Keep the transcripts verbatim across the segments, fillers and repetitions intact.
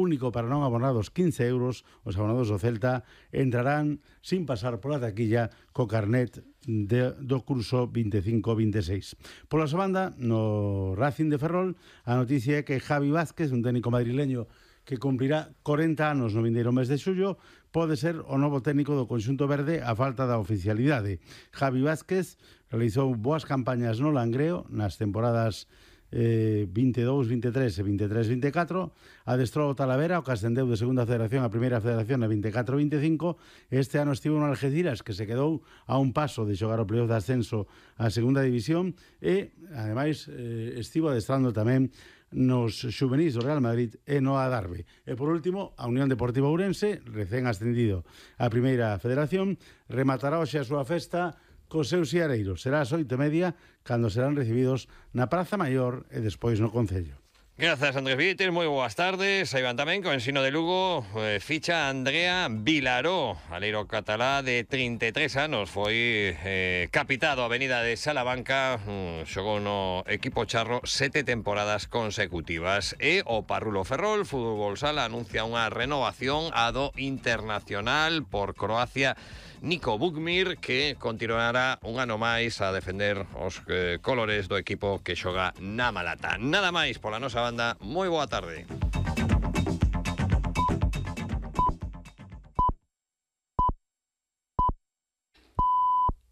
único para non abonados quince euros, os abonados do Celta entrarán sin pasar pola taquilla co carnet de, do curso veinticinco veintiséis. Pola súa banda, no Racing de Ferrol, a noticia é que Javi Vázquez, un técnico madrileño que cumprirá corenta anos no vindeiro mes de xullo, pode ser o novo técnico do conxunto verde a falta da oficialidade. Javi Vázquez realizou boas campañas no Langreo nas temporadas eh, veintidós veintitrés e veintitrés veinticuatro, adestrou o Talavera, o que ascendeu de segunda federación a primeira federación a veinticuatro veinticinco. Este ano estivo no Algeciras, que se quedou a un paso de xogar o playoff de ascenso á segunda división, e ademais eh, estivo adestrando tamén nos xuvenis do Real Madrid e no Adarve. E por último, a Unión Deportiva Ourense, recén ascendido á primeira federación, rematará hoxe a súa festa cos seus siareiros. Será ás oito e media, cando serán recibidos na Praza Maior e despois no Concello. Gracias, Andrés Vites, moi boas tardes. Aí van tamén co Ensino de Lugo, eh, ficha Andrea Vilaró, aleiro catalá de trinta e tres anos, foi eh, capitado a Avenida de Salamanca, um, xogou no equipo charro sete temporadas consecutivas. E o Parrulo Ferrol Fútbol Sala anuncia unha renovación a do internacional por Croacia Nico Bukmir, que continuará un ano máis a defender os eh, colores do equipo que xoga na Malata. Nada máis pola nosa banda, moi boa tarde.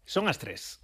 Son as tres.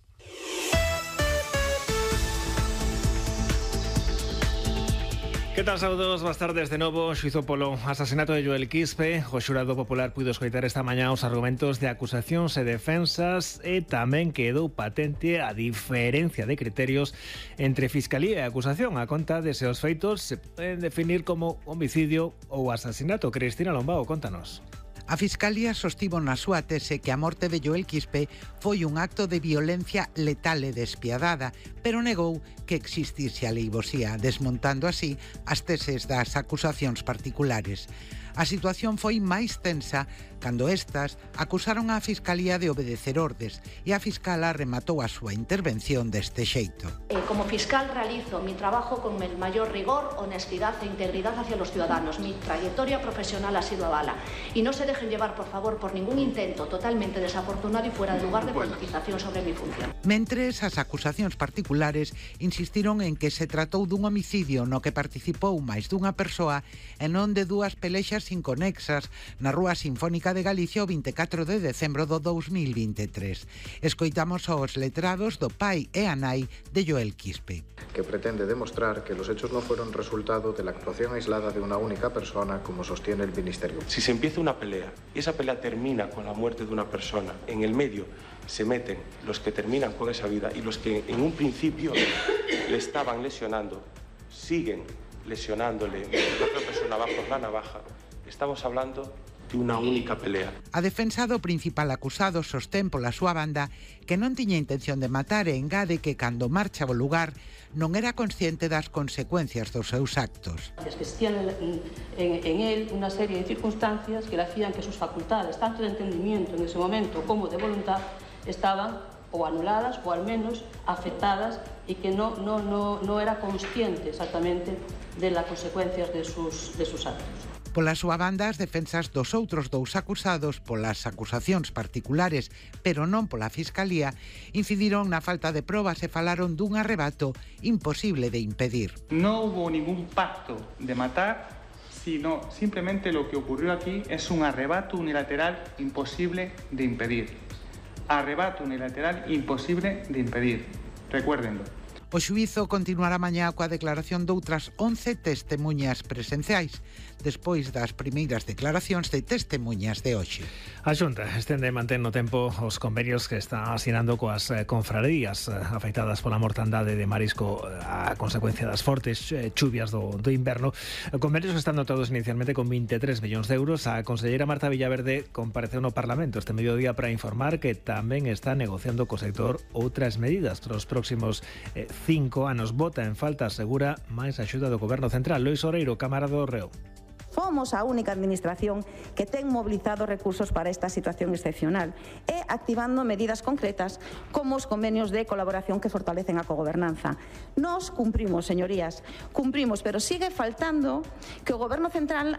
Que tal, saúdos, boas tardes de novo. Xuizo polo asasinato de Joel Quispe. O xurado popular puido escoitar esta mañá os argumentos de acusacións e defensas, e tamén quedou patente a diferencia de criterios entre fiscalía e acusación a conta de se os feitos se poden definir como homicidio ou asasinato. Cristina Lombao, contanos. A Fiscalía sostivo na súa tese que a morte de Joel Quispe foi un acto de violencia letal e despiadada, pero negou que existise aleivosía, desmontando así as teses das acusacións particulares. A situación foi máis tensa cando estas acusaron á Fiscalía de obedecer ordes, e a fiscala rematou a súa intervención deste xeito. Eh, como fiscal realizo mi trabajo con el mayor rigor, honestidad e integridad hacia los ciudadanos. Mi trayectoria profesional ha sido avala. Y no se dejen llevar, por favor, por ningún intento totalmente desafortunado y fuera de lugar de politización sobre mi función. Mentres, as acusacións particulares insistiron en que se tratou dun homicidio no que participou máis dunha persoa e non de dúas pelexas inconexas na Rúa Sinfónica de Galicia o veinticuatro de decembro do dous mil veintitrés. Escoitamos aos letrados do pai e a nai de Joel Quispe. Que pretende demostrar que los hechos no fueron resultado de la actuación aislada de una única persona, como sostiene el Ministerio. Si se empieza una pelea y esa pelea termina con la muerte de una persona, en el medio se meten los que terminan con esa vida y los que en un principio le estaban lesionando, siguen lesionándole, mientras la otra persona va por la navaja, estamos hablando de unha única pelea. A defensa do principal acusado sostén pola súa banda que non tiña intención de matar e engade que cando marcha ao lugar non era consciente das consecuencias dos seus actos. Existían en, en, en él unha serie de circunstancias que le hacían que sus facultades, tanto de entendimiento en ese momento como de voluntad, estaban ou anuladas ou al menos afectadas e que no, no, no, no era consciente exactamente de las consecuencias de sus, de sus actos. Pola súa banda, as defensas dos outros dous acusados polas acusacións particulares, pero non pola Fiscalía, incidiron na falta de probas e falaron dun arrebato imposible de impedir. No hubo ningún pacto de matar, sino simplemente lo que ocurrió aquí es un arrebato unilateral imposible de impedir. Arrebato unilateral imposible de impedir. Recuérdenlo. O xuízo continuará mañá coa declaración doutras once testemuñas presenciais, despois das primeiras declaracións de testemuñas de hoxe. A Xunta estende e mantén no tempo os convenios que está asinando coas eh, confrarías eh, afectadas pola mortandade de marisco eh, a consecuencia das fortes eh, chuvias do, do inverno. Convenios que están notados inicialmente con veintitrés millóns de euros. A conselleira Marta Villaverde compareceu no Parlamento este mediodía para informar que tamén está negociando co sector outras medidas para os próximos eh, cinco anos. Bota en falta, asegura, máis axuda do Goberno Central. Lois Oreiro, Cámara do Reo. Fomos a única administración que ten mobilizado recursos para esta situación excepcional e activando medidas concretas como os convenios de colaboración que fortalecen a cogobernanza. Nos cumprimos, señorías, cumprimos, pero sigue faltando que o Goberno Central